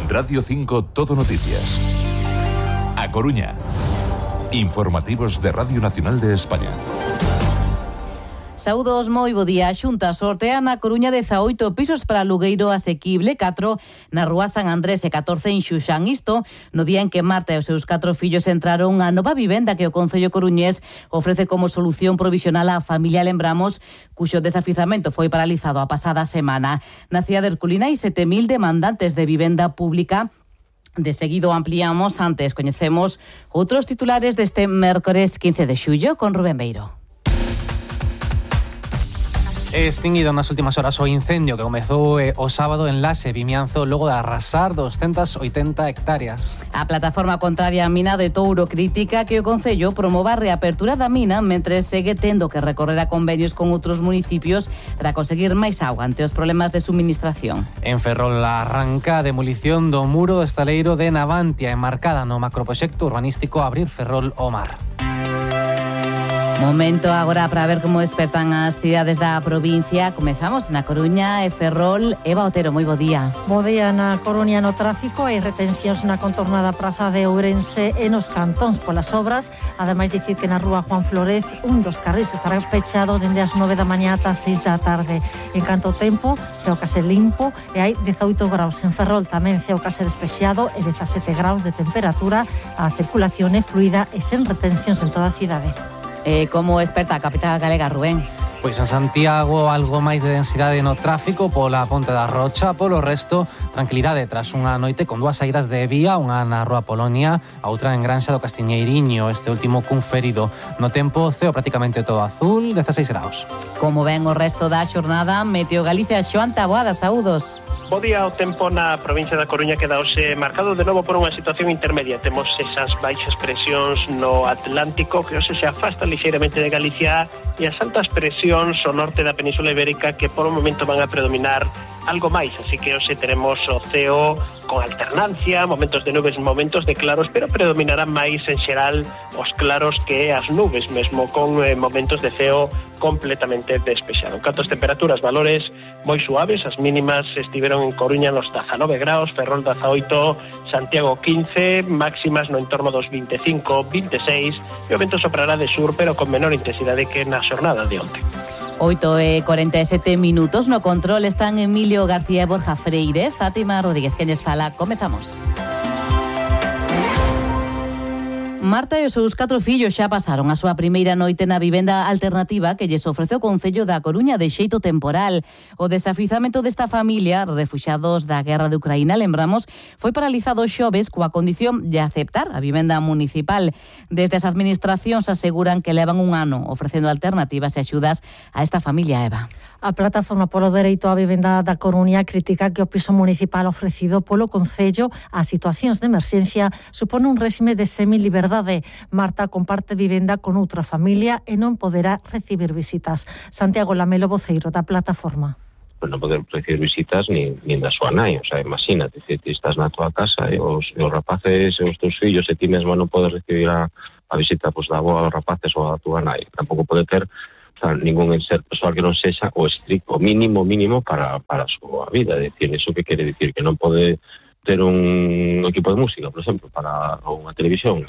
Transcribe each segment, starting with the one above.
Radio 5 Todo Noticias. A Coruña. Informativos de Radio Nacional de España. Saúdos, moi bo día. A Xunta sortea na Coruña 18 pisos para alugueiro asequible, 4 na Rúa San Andrés e 14 en Xuxán. Isto no día en que Marta e os seus 4 fillos entraron a nova vivenda que o Concello coruñés ofrece como solución provisional á familia, lembramos, cuxo desafizamento foi paralizado a pasada semana. Na cidade herculina hai 7.000 demandantes de vivenda pública. De seguido ampliamos, antes coñecemos outros titulares deste mércores 15 de xullo con Rubén Beiro. Extinguido nas últimas horas o incendio que comezou o sábado en Laxe, Vimianzo, logo de arrasar 280 hectáreas. A plataforma contraria á mina de Touro critica que o Concello promova a reapertura da mina mentre segue tendo que recorrer a convenios con outros municipios para conseguir máis auga ante os problemas de suministración. En Ferrol arranca a demolición do muro do estaleiro de Navantia, enmarcada no macroproxecto urbanístico Abrir Ferrol ao Mar. Momento agora para ver como despertan as cidades da provincia. Comezamos na Coruña e Ferrol. Eva Otero, moi bo día. Bo día na Coruña no tráfico. Hai retencións na contornada praza de Ourense e nos cantóns polas obras. Ademais, dicir que na rúa Juan Flórez un dos carrís estará pechado dende as 9 da mañá ata as 6 da tarde. En canto ao tempo, ceo case limpo e hai 18 graus. En Ferrol tamén ceo case despexado e 17 graus de temperatura. A circulación é fluida e sen retencións en toda a cidade. Como experta a capital galega, Rubén? Pois en Santiago algo máis de densidade no tráfico pola Ponte da Rocha, polo resto tranquilidade tras unha noite con dúas saídas de vía, unha na Rúa Polonia, a outra en Granxa do Castiñeiriño, este último cun ferido. No tempo, ceo prácticamente todo azul, 16 graus. Como ven o resto da xornada, Meteo Galicia, Xoán Taboada, saúdos. Bo día, o tempo na provincia da Coruña queda hoxe marcado de novo por unha situación intermedia. Temos esas baixas presións no Atlántico que hoxe se afastan lixeiramente de Galicia e as altas presións ao norte da Península Ibérica que por un momento van a predominar algo máis. Así que hoxe teremos o ceo con alternancia, momentos de nubes, momentos de claros, pero predominarán máis en xeral os claros que as nubes, mesmo con momentos de ceo completamente despexado. En canto as temperaturas, valores moi suaves, as mínimas estiveron en Coruña nos 19 graus, Ferrol 18, Santiago 15, máximas no entorno dos 25, 26, e o vento soprará de sur, pero con menor intensidade que na xornada de onte. 8:47 minutos, no control están Emilio García e Borja Freire. Fátima Rodríguez, que lles fala. Comezamos. Marta e os seus 4 fillos xa pasaron a súa primeira noite na vivenda alternativa que lles ofrece o Concello da Coruña de xeito temporal. O desafizamento desta familia, refuxiados da guerra de Ucraína, lembramos, foi paralizado xoves coa condición de aceptar a vivenda municipal. Desde as administracións aseguran que levan un ano ofrecendo alternativas e axudas a esta familia, Eva. A Plataforma polo Dereito á Vivenda da Coruña critica que o piso municipal ofrecido polo Concello a situacións de emerxencia supone un réxime de semiliberdade. Marta comparte vivenda con outra familia e non poderá recibir visitas. Santiago Lamelo, voceiro da Plataforma. Pues non poder recibir visitas nin da súa nai, o sea, imagínate, ti estás na túa casa e os rapaces e os teus fillos e ti mesmo non podes recibir a visita pues, da avó aos rapaces ou a túa nai. Tampouco pode ter ningún ser persoal que non sexa o estricto mínimo para a súa vida. É dicir, iso que quere dicir que non pode ter un equipo de música, por exemplo, para unha televisión.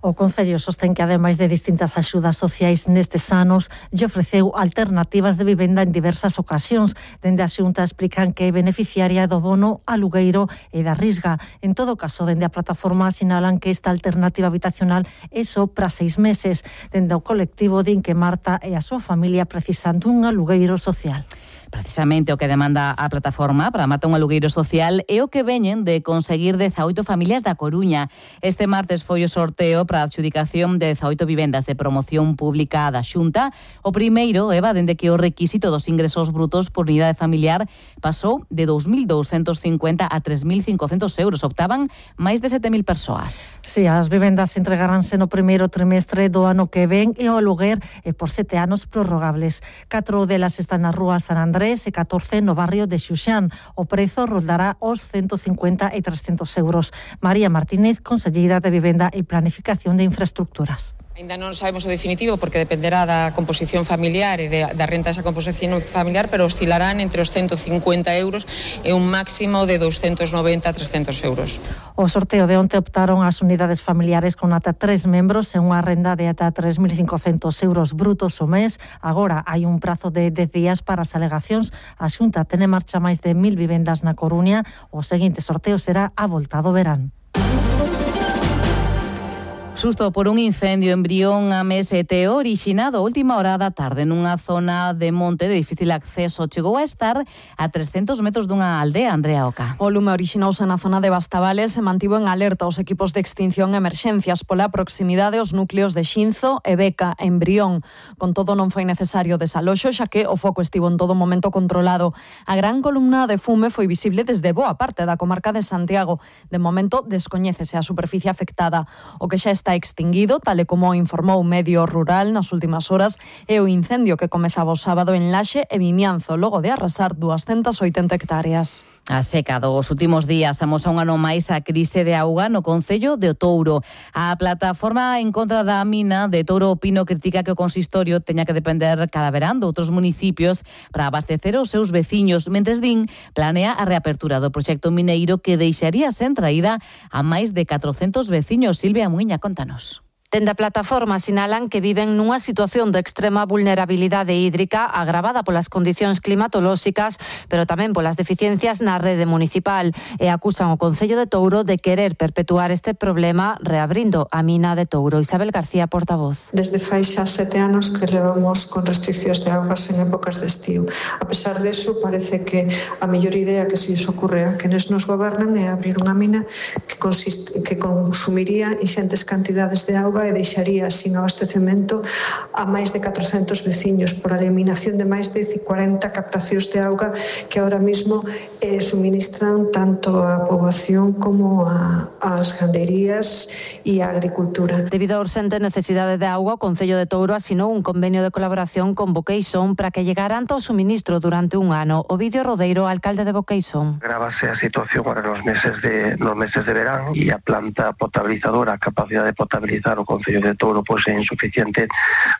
O Concello sostén que, ademais de distintas axudas sociais nestes anos, lle ofreceu alternativas de vivenda en diversas ocasións. Dende a Xunta explican que é beneficiaria do bono alugueiro e da risga. En todo caso, dende a plataforma sinalan que esta alternativa habitacional é só para 6 meses. Dende o colectivo din que Marta e a súa familia precisan dun alugueiro social. Precisamente o que demanda a plataforma para Marta un alugueiro social é o que veñen de conseguir 18 familias da Coruña. Este martes foi o sorteo para a adxudicación de 18 vivendas de promoción pública da Xunta. O primeiro, Eva, dende que o requisito dos ingresos brutos por unidade familiar pasou de 2.250 a 3.500 euros. Optaban máis de 7.000 persoas. Si, as vivendas entregaránse no primeiro trimestre do ano que ven e o aluguer é por 7 anos prorrogables. 4 delas están na Rúa San Andrés e 14 no barrio de Xuxán. O prezo roldará os 150 e 300 euros. María Martínez, conselleira de Vivenda e Planificación de Infraestructuras. Ainda non sabemos o definitivo porque dependerá da composición familiar e da renta desa composición familiar, pero oscilarán entre os 150 euros e un máximo de 290 a 300 euros. O sorteo de onte optaron as unidades familiares con ata 3 membros e unha renda de ata 3.500 euros brutos o mes. Agora hai un prazo de 10 días para as alegacións. A Xunta ten en marcha máis de 1.000 vivendas na Coruña. O seguinte sorteo será a volta do verán. Susto por un incendio en Brión a Mesete orixinado a última hora da tarde nunha zona de monte de difícil acceso. Chegou a estar a 300 metros dunha aldea, Andrea Oca. O lume orixinouse na zona de Bastavales e mantivo en alerta os equipos de extinción e emerxencias pola proximidade aos núcleos de Xinzo e Beca en Brión. Con todo, non foi necesario desaloxo, xa que o foco estivo en todo momento controlado. A gran columna de fume foi visible desde boa parte da comarca de Santiago. De momento, descoñécese a superficie afectada. O que xa está extinguido, tal e como informou Medio Rural nas últimas horas, é o incendio que comezaba o sábado en Laxe e Vimianzo, logo de arrasar 280 hectáreas. A seca dos últimos días amosa un ano máis a crise de auga no concello de Otouro. A plataforma en contra da mina de Touro Pino critica que o consistorio teña que depender cada verán de outros municipios para abastecer os seus veciños, mentres din planea a reapertura do proxecto mineiro que deixaría sen traída a máis de 400 veciños. Silvia Muiña, contanos. Dende a plataforma sinalan que viven nunha situación de extrema vulnerabilidade hídrica agravada polas condicións climatolóxicas, pero tamén polas deficiencias na rede municipal, e acusan o Concello de Touro de querer perpetuar este problema reabrindo a mina de Touro. Isabel García, portavoz. Desde fai xa 7 anos que levamos con restriccións de augas en épocas de estío. A pesar deso, parece que a mellor idea que se os ocurre a quenes nos gobernan é abrir unha mina que consumiría ingentes cantidades de auga e deixaría sin abastecemento a máis de 400 veciños por a eliminación de máis de 40 captacións de auga que ahora mismo suministran tanto a poboación como as gandeirías e a agricultura. Debido á urxente necesidade de auga, o Concello de Touro asinou un convenio de colaboración con Boqueixón para que llegaran o suministro durante un ano. Ovidio Rodeiro, alcalde de Boqueixón. Grávase a situación ahora nos meses de verán e a planta potabilizadora, a capacidade de potabilizar o Concello de Touro pois é insuficiente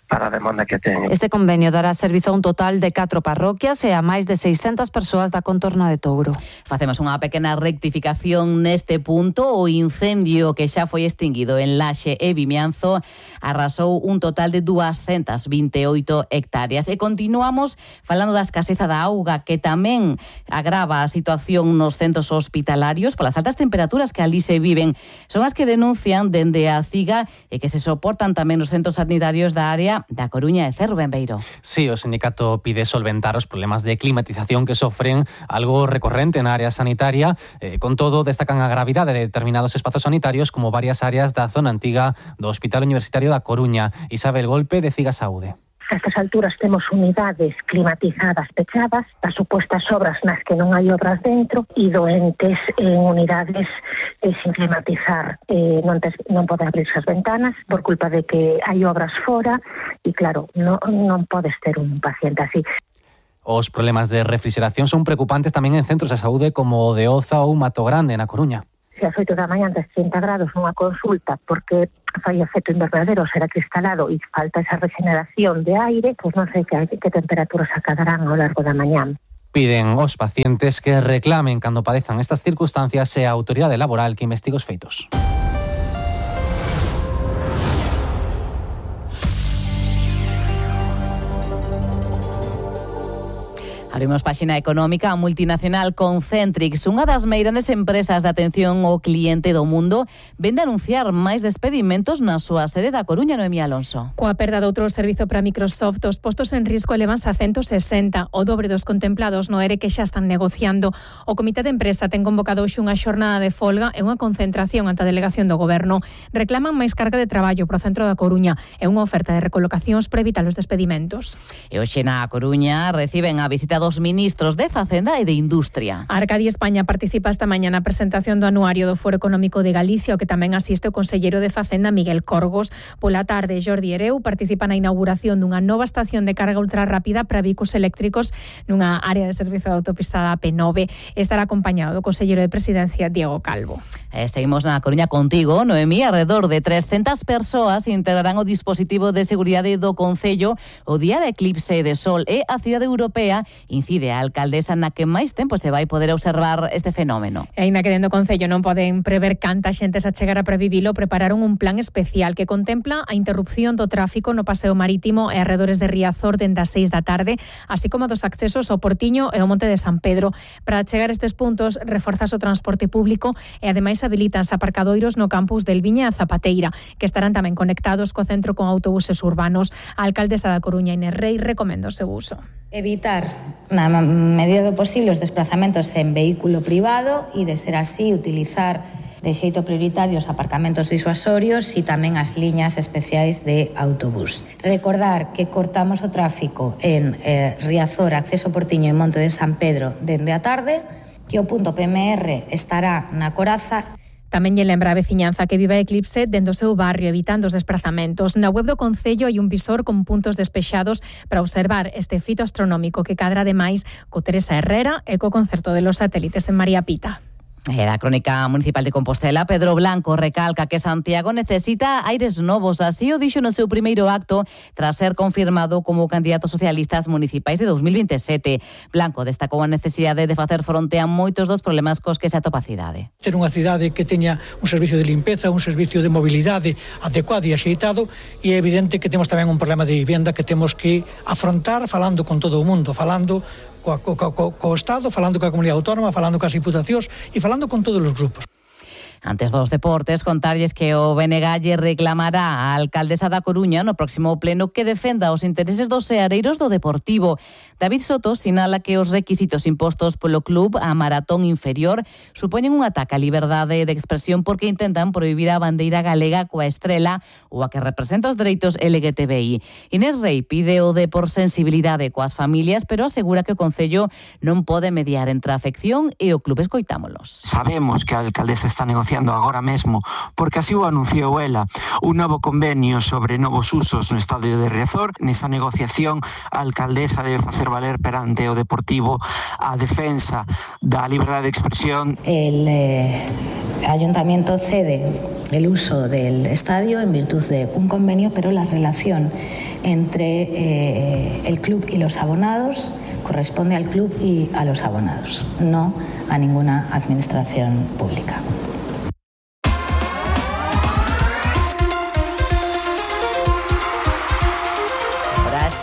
para a demanda que ten. Este convenio dará servizo a un total de 4 parroquias e a máis de 600 persoas da contorna de Touro. Facemos unha pequena rectificación neste punto. O incendio que xa foi extinguido en Laxe e Vimianzo arrasou un total de 228 hectáreas. E continuamos falando da escaseza da auga, que tamén agrava a situación nos centros hospitalarios polas altas temperaturas que ali se viven. Son as que denuncian dende a CIGA e que se soportan tamén nos centros sanitarios da área da Coruña e Cerro Benbeiro. Sí, o sindicato pide solventar os problemas de climatización que sofren, algo recorrente na área sanitaria. Con todo, destacan a gravidade de determinados espazos sanitarios como varias áreas da zona antiga do Hospital Universitario da Coruña. Isabel Golpe, de CIGA Saúde. A estas alturas temos unidades climatizadas pechadas, as supostas obras nas que non hai obras dentro e doentes en unidades sin climatizar. Non pode abrirse as ventanas por culpa de que hai obras fora e claro, non podes ter un paciente así. Os problemas de refrigeración son preocupantes tamén en centros de saúde como o de Oza ou Mato Grande, na Coruña. Se as 8 da mañá antes 30 grados nunha consulta porque fai efecto invernadero, será cristalado e falta esa regeneración de aire, pois non sei que temperaturas acadarán ao largo da mañá. Piden aos pacientes que reclamen cando padezan estas circunstancias e a autoridade laboral que investigue os feitos. Abrimos páxina económica. A multinacional Concentrix, unha das meirandes empresas de atención ao cliente do mundo, vende a anunciar máis despedimentos na súa sede da Coruña. Noemí Alonso. Coa perda de outro servizo para Microsoft, os postos en risco elevanse a 160, o dobre dos contemplados no ERE que xa están negociando. O comité de empresa ten convocado hoxe unha xornada de folga e unha concentración ante a delegación do Goberno. Reclaman máis carga de traballo pro centro da Coruña e unha oferta de recolocacións para evitar os despedimentos. E hoxe na Coruña reciben a visita do dos ministros de Facenda e de Industria. Arcadia España participa esta mañá na presentación do anuario do Foro Económico de Galicia, o que tamén asiste o conselleiro de Facenda Miguel Corgos. Pola tarde, Jordi Hereu participa na inauguración dunha nova estación de carga ultrarrápida para vehículos eléctricos nunha área de servizo de autopista da P9. Estará acompañado do conselleiro de Presidencia Diego Calvo. Seguimos na Coruña contigo, Noemí. Alrededor de 300 persoas integrarán o dispositivo de seguridade do Concello o día de eclipse de sol, e a cidade europea incide a alcaldesa na que máis tempo se vai poder observar este fenómeno. E aínda que dentro do Concello non poden prever canta xente se achegara para vivilo, prepararon un plan especial que contempla a interrupción do tráfico no paseo marítimo e arredores de Riazor dende as 6 da tarde, así como dos accesos ao Portiño e ao Monte de San Pedro. Para chegar a estes puntos, reforzas o transporte público e ademais habilitanse aparcadoiros no campus del Viña e a Zapateira, que estarán tamén conectados co centro con autobuses urbanos. A alcaldesa da Coruña, Inés Rei, recomenda o seu uso. Evitar, na medida do posible, os desplazamentos en vehículo privado e, de ser así, utilizar de xeito prioritario os aparcamentos disuasorios e tamén as liñas especiais de autobús. Recordar que cortamos o tráfico en Riazor, acceso Portiño e Monte de San Pedro dende a tarde, que o punto PMR estará na Coraza. Tamén lle lembra a veciñanza que vive a eclipse dende o seu barrio, evitando os desplazamentos. Na web do Concello hai un visor con puntos despexados para observar este fito astronómico que cadra ademais co Teresa Herrera e co concerto de los satélites en María Pita. E da Crónica Municipal de Compostela, Pedro Blanco recalca que Santiago necesita aires novos. Así o dixo no seu primeiro acto tras ser confirmado como candidato socialista ás municipais de 2027. Blanco destacou a necesidade de facer fronte a moitos dos problemas cos que se atopa a cidade. Ter unha cidade que teña un servicio de limpeza, un servicio de mobilidade adecuado e axeitado, e é evidente que temos tamén un problema de vivenda que temos que afrontar falando con todo o mundo, falando co Estado, falando coa comunidade autónoma, falando coas diputacións e falando con todos os grupos. Antes dos deportes, contarlles que o BNG lle reclamará a alcaldesa da Coruña no próximo pleno que defenda os intereses dos seareiros do Deportivo. David Soto sinala que os requisitos impostos polo club a Maratón Inferior supoñen un ataque á liberdade de expresión porque intentan prohibir a bandeira galega coa estrela ou a que representa os dereitos LGTBI. Inés Rei pide o de por sensibilidade coas familias, pero asegura que o Concello non pode mediar entre a afección e o club. Escoitámolos. Sabemos que a alcaldesa está negociando agora mesmo, porque así o anunciou ela, un novo convenio sobre novos usos no estadio de Riazor. Nesa negociación, a alcaldesa debe facer valer perante o Deportivo a defensa da liberdade de expresión. El ayuntamiento cede el uso del estadio en virtud de un convenio, pero la relación entre el club y los abonados corresponde al club y a los abonados, no a ninguna administración pública.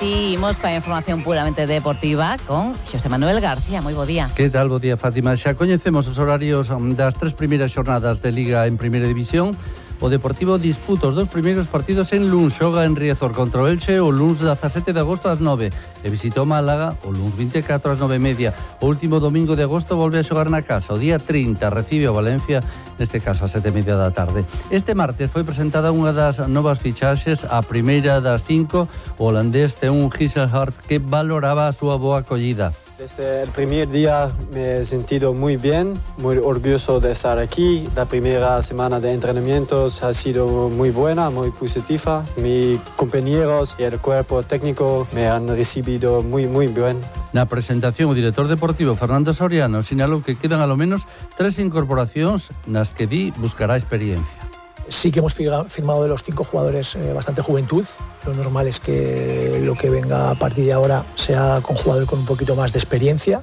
Imos coa información puramente deportiva con Xosé Manuel García. Moi bo día. Que tal? Bo día, Fátima. Xa coñecemos os horarios das 3 primeiras xornadas de Liga en Primeira División. O Deportivo disputa os 2 primeiros partidos en Luns. Xoga en Riazor contra o Elche o luns 17 de agosto ás 9. E visita o Málaga o luns 24 ás 9:30. O último domingo de agosto volve a xogar na casa. O día 30 recibe o Valencia, neste caso a 7:30 da tarde. Este martes foi presentada unha das novas fichaxes, a primeira das 5. O holandés Teun Gisselhart, que valoraba a súa boa acollida. Desde el primer día me he sentido muy bien, muy orgulloso de estar aquí. La primera semana de entrenamientos ha sido muy buena, muy positiva. Mis compañeros y el cuerpo técnico me han recibido muy bien. Na presentación, o director deportivo Fernando Soriano sinalou que quedan alo menos 3 incorporacións nas que buscará experiencia. Sí que hemos firmado de los 5 jugadores bastante juventud. Lo normal es que lo que venga a partir de ahora sea con jugadores con un poquito más de experiencia.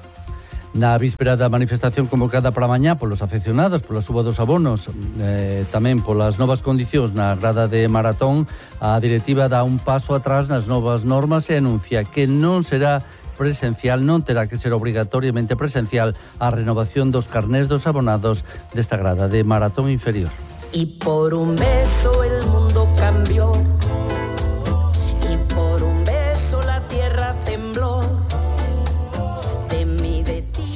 Na víspera da manifestación convocada para mañá polos afeccionados, pola suba dos abonos, tamén polas novas condicións na grada de Maratón, a directiva dá un paso atrás nas novas normas e anuncia que non será presencial, non terá que ser obrigatoriamente presencial a renovación dos carnés dos abonados desta grada de Maratón Inferior. Y por un beso el mundo cambió, y por un beso la tierra tembló.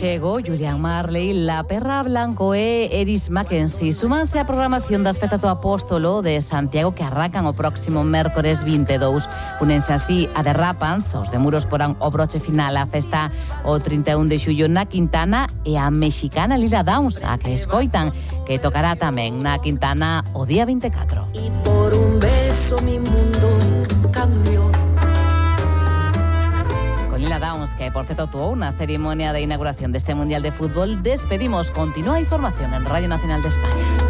Chego, Julián Marley, La Perra Blanco e Eris Mackenzie súmanse á programación das festas do Apóstolo de Santiago que arrancan o próximo mércores 22. Unense así a Derrapans, os de Muros porán o broche final á festa o 31 de xullo na Quintana e a mexicana Lila Downs, a que escoitan, que tocará tamén na Quintana o día 24. Y por un beso mi mundo cambió. Con Lila Downs, que por cierto tuvo una ceremonia de inauguración de este Mundial de Fútbol, despedimos. Continúa información en Radio Nacional de España.